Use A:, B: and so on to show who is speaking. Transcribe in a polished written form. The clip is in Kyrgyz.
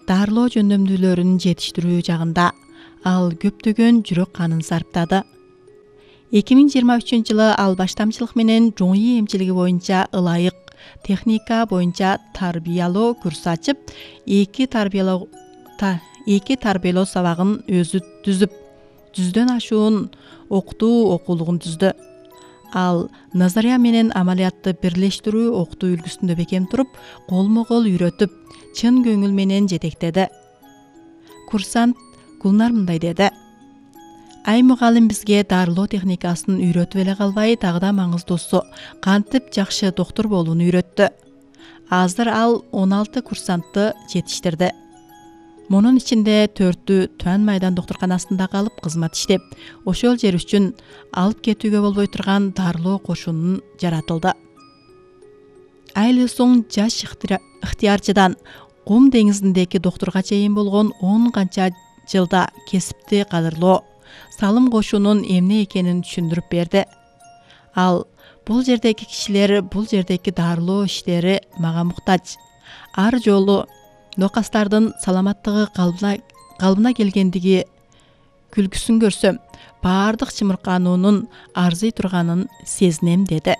A: дарылоо жөндөмдүүлөрүн жетиштирүү жагында ал көптөгөн жүрөк канын сарптады. 2023 ал баштамчылык менен жоңүй эмчилиги боюнча ылайык техника боюнча тарбиялоо курсу ачып, эки тарбиялоо сабагын өзү түзүп, 100дөн ашуун окутуу окуулугун түздү. Ал назария менен амалиятты бирлештирүү окутуу үлгүсүндө бекем туруп, колмо-кол үйрөтүп, чын көңүл менен жетектеди. Курсант Гулнар мындай деди: Ай мугалим бизге дарылоо техникасын үйрөтүп эле калбай, дагы да маңыздуусу кантип жакшы доктур болууну үйрөттү. Азыр ал 16 курсантты жетиштирди. Мунун ичинде 4-ү Туан майдан доктурканасында калып кызмат иштеп, ошол жер үчүн алып кетүүгө болбой турган дарылоо кошунун жаратылды. Айыл соң жаш ыктыярчыдан Кум деңизиндеги доктурга чейин болгон 10 канча жылда кесипти кадырлоо, салым кошуунун эмне экенин түшүндүрүп берди. Ал бул жердеги кишилер, бул жердеги дарылоо иштери мага муктаж. Ар жолу нокастардын саламаттыгы калыбына келгендиги күлгүсүн көрсөм, баардык чымыркануунун арзый турганын сезинем деди.